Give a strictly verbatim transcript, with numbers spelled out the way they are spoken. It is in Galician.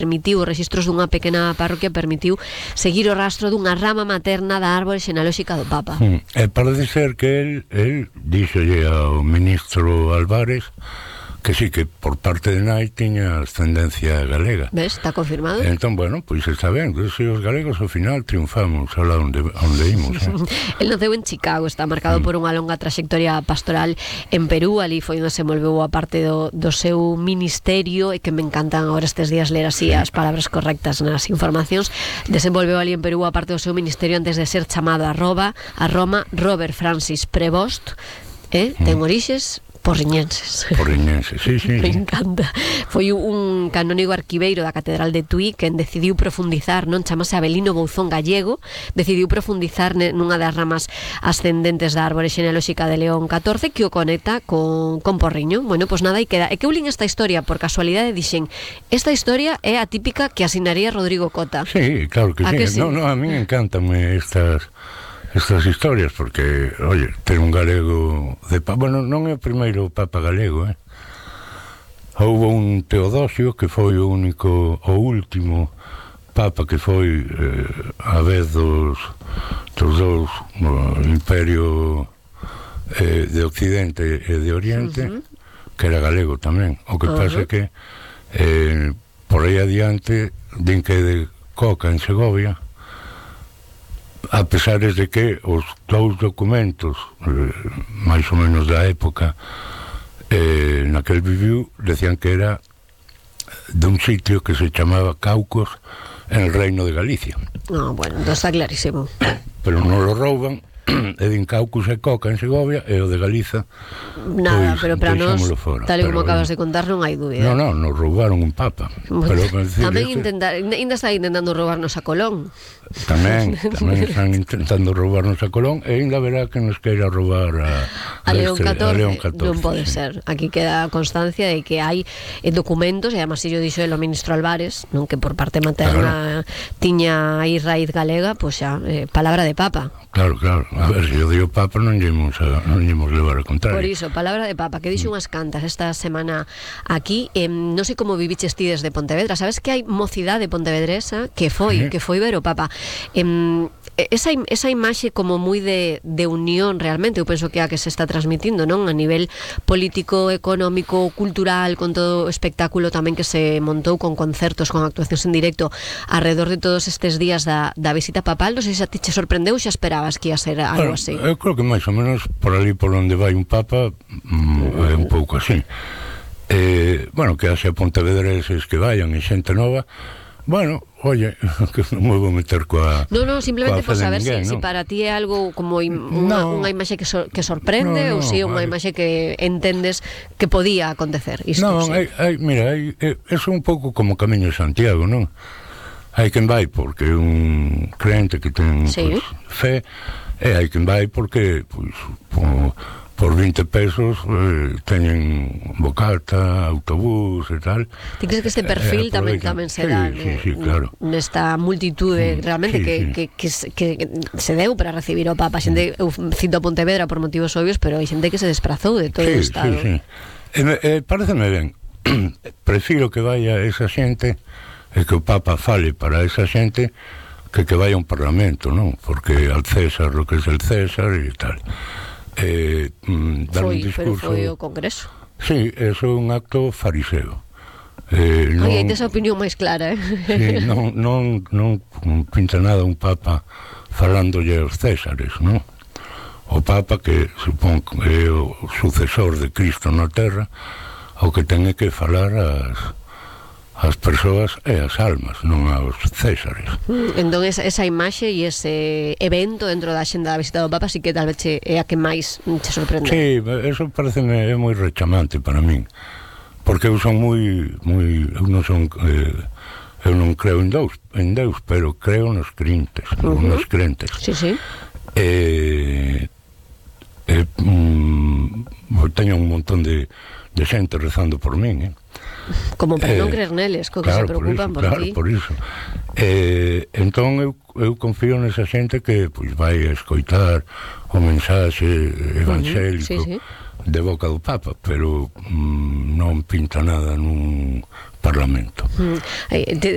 permitiu, os registros dunha pequena parroquia permitiu seguir o rastro dunha rama materna da árbore xenealóxica do Papa. Mm. E parece ser que el, el díxolle ao ministro Álvarez que sí, que por parte de nai tiña ascendencia galega. Ves, está confirmado. Entón, bueno, pois pues está ben, que se os galegos ao final triunfamos alá onde, onde imos. Eh? El naceu en Chicago, está marcado mm. por unha longa trayectoria pastoral en Perú, ali foi onde se envolveu a parte do, do seu ministerio, e que me encantan agora estes días ler así sí. as palabras correctas nas informacións. Desenvolveu ali en Perú a parte do seu ministerio antes de ser chamado a Roma, a Roma Robert Francis Prevost, eh? mm. ten orixes porriñenses. Porriñenses, sí, sí. Me encanta. Foi un canónigo arquiveiro da Catedral de Tui quen decidiu profundizar, non chamase Abelino Bouzón Gallego, decidiu profundizar nunha das ramas ascendentes da árbore xenealóxica de León catorce que o conecta con, con Porriño. Bueno, pois nada, e queda. E que eu lin esta historia por casualidade, dixen, esta historia é a típica que asinaría Rodrigo Cota. Sí, claro que sí. que sí. No, no, a mí encantanme estas estas historias, porque, oye, ter un galego de papa, bueno, non é o primeiro papa galego, eh? Houve un Teodosio que foi o único, o último papa que foi eh, a vez dos dos dous no, imperio eh, de Occidente e de Oriente, uh-huh. que era galego tamén. O que uh-huh. pasa é que eh, por aí adiante din que de Coca en Segovia, a pesar de que os dous documentos eh, máis ou menos da época eh, naquel viviu, decían que era de un sitio que se chamaba Caucos en el Reino de Galicia. No, bueno, entonces está clarísimo. Pero non lo rouban, e din Caucos e Coca en Segovia, e o de Galiza nada, pois, pero para nós, fora. tal e como pero, acabas de contar, non hai dúbida. Non, non, nos roubaron un papa. Pero, decir, tamén este... intentar, ainda está intentando roubarnos a Colón. Tamén, tamén están intentando roubarnos a Colón, e ainda verá que nos queira roubar a, a, León este, catorce, a León catorce. Non pode sí. ser. Aquí queda constancia de que hai eh, documentos, e además yo dixo el ministro Álvarez, non, que por parte materna claro. tiña aí raíz galega, pois pues xa, eh, palabra de papa. Claro, claro. A ver, se yo digo papa non llemos a, non llemos levar a contrario. Por iso, palabra de papa, que dixo mm. unhas cantas esta semana aquí, eh, non sei como viviches ti desde Pontevedra, sabes que hai mocidade pontevedresa que foi, sí. que foi ver o papa. Eh, esa, esa imaxe como moi de, de unión realmente, eu penso que é a que se está transmitindo, non? A nivel político, económico, cultural, con todo o espectáculo tamén que se montou con concertos, con actuacións en directo alrededor de todos estes días da, da visita papal. Non sei se a ti che sorprendeu ou xa esperabas que ia ser algo bueno, así. Eu creo que máis ou menos por ali por onde vai un papa mm, é un pouco así. Eh, bueno, que haxe pontevedreses que vayan e xente nova. Bueno, oye, que non me vou meter coa... No, no, simplemente por saber ninguén, si, ¿no? si para ti é algo como im, unha, no. unha imaxe que, so, que sorprende no, no, ou si é unha imaxe que entendes que podía acontecer. Isto, non, sí. hai, hai, mira, hai, é, é un pouco como Camiño de Santiago, non? Hai quen vai porque é un crente que ten sí. pues, fe, e hai quen vai porque pues, por, por vinte pesos eh, teñen bocata, autobús e tal. Ti crees que este perfil eh, tamén tamén se dá sí, sí, sí, claro. nesta multitude realmente sí, que, sí. Que, que, que, que se deu para recibir o Papa? Xente, eu cito a Pontevedra por motivos obvios, pero hai xente que se desplazou de todo sí, o estado. Sí, sí. Eh, eh, pareceme ben. Prefiro que vaya esa xente e que o Papa fale para esa xente que que vaya a un parlamento, non? Porque al César lo que es el César e tal. Eh, mm, dar foi, un discurso... pero foi o Congreso. Sí, eso é un acto fariseo. Eh, non, Ai, hai esa opinión máis clara, eh? Sí, non, non, non pinta nada un Papa falándolle aos Césares, non? O Papa, que supón que é o sucesor de Cristo na Terra, o que ten que falar as... as persoas e as almas, non aos Césares. Entón esa, esa imaxe e ese evento dentro da xenda da visita do Papa sí que tal vez che, é a que máis te sorprende. Sí, eso pareceme é moi rechamante para min, porque eu son moi moi eu non son eh, eu non creo en Deus, en Deus, pero creo nos crentes, uh -huh. nos crentes. Sí, sí. Eh, eh, mm, teño un montón de de xente rezando por min, eh. Como para eh, non creer neles, co que claro, se preocupan por, por, por ti. Claro, por iso. Eh, entón eu, eu confío nesa xente que pois, vai a escoitar o mensaxe evangélico uh -huh, sí, sí. de boca do Papa, pero mm, non pinta nada nun parlamento. Mm. Eh, te,